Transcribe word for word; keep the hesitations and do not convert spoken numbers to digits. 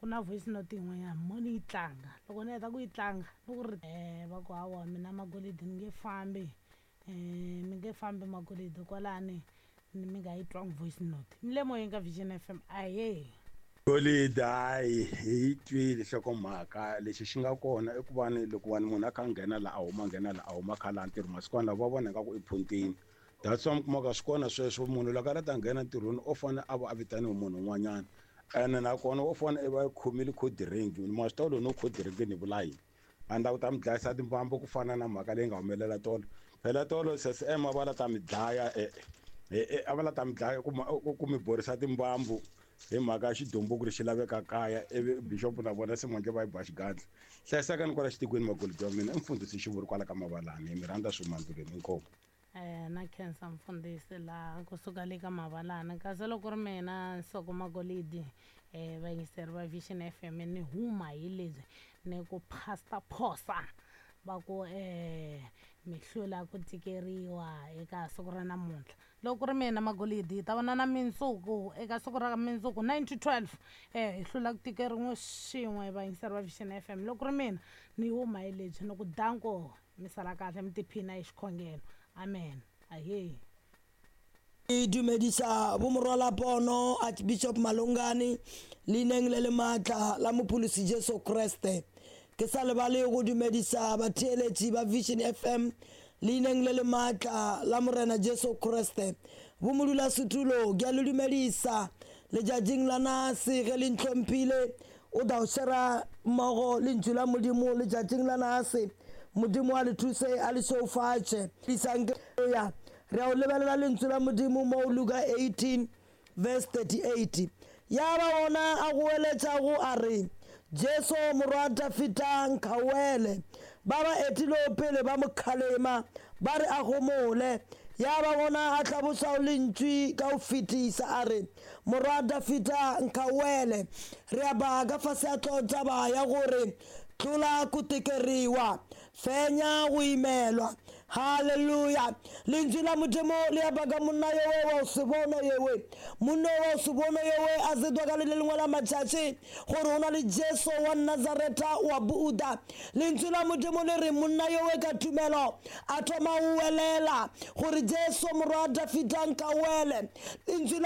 Ku na voice note yin'wanyana mo ni yi tlanga, loko ni heta ku yi tlanga ni ku ri um va ku hawa mina Magolidi ni nge fambi, um mi nge fambi Magolidi kwalani mi nga yi twangi voice note. Ni le moyeni ka Vision F M, ahee. Golidi, hayi, hi yi twile nhlokomhaka. Lexi xi nga kona i ku va ni loko va ni munhu a kha a nghena la, a huma, nghena la, a huma, kha laha ntirho masikwana lawa va vona ingaku i phuntini. That's why mi kumaka swi kona sweswo, munhu loko a la ta nghena ntirhweni o fane a va a vitaniwe munhu un'wanyana, ene nakona wo fane i va i khomile code ring. Ma swi tiva loko no code ring ni vula yini? A ni lava ku ta mi dlayisa timbambu ku fana na mhaka leyi nga humelela tolo. Phela tolo C S M a va la ta mi dlaya, a va la ta mi dlaya ku mi borisa timbambu hi mhaka ya xidumbu ku ri xi laveka kaya, ivi bishop na vona se manjhe va yi ba xigandla. Hlayisekani kwala xitikweni, Magolidi wa mina i mfundhisi Xivuri kwala ka Mavalani. Hi mi rhandza swi mandluleni, inkomu. Eh na khensa mfundhisi laha kusuka le ka Mavalana. Kasi loko ri mina Nsoko Magolidi, eh vayingiseri va Vision F M, ni huma hi lebyi ni ku Pastor Phosa va ku eh mi hlula ku tikeriwa eka siku ra namuntlha. Loko ku ri mina Magolidi, hi ta vonana mindzuku eka siku ra mindzuku nine to twelve, eh hi hlula ku tikeriwa swin'we, vayingiseri va Vision F M. Loko ku ri mina ni huma hi lebyi ni ku danko, mi sala kahle, mi tiphina hi xikhongelo. Amen, ahee. Ke dumedisa bomorwala pono Archbishop Malongane leineng le le maatla la Mopholosi Jesu Kriste. Ke sa lebale go dumedisa batheeletši ba Vision F M leineng le le maatla la Morena Jesu Kriste. Bomodulasetulo, ke a le dumedisa letšatšing la nase ge le ntlhomphile o tla o shera mmogo lentšu la Modimo letšatšing la nase. Modimo a le thuse, a le šeufatše. Isang ya re a o lebelela lentswe la Modimo mo Luka eighteen verse thirty-eight. Ya ba ona a goeletšago a re, Jesu morwa Dafita, nkgauele. Ba ba etilego pele ba mo kgalema ba re a gomole. Ya ba gona a hlabošago lentšu ka go fetisa a re, Morwa Dafita, nkgauele. Re a ba ka fase ya tlotaba ya gore tlola ku tekeriwa, fenya go imelwa. Halleluja! Lentswe la Modimo le ya baka monna yowe wa o se bona yewe, monna wa o se bona yowe a zetwa ka le le lengwe la matšatši gore o na le Jesu wa Nazareta wa Buda. Lentswe la Modimo le re monna yowe ka tumelo a thoma go welela gore, Jesu morwa Dafita, nkawele. Lentswe la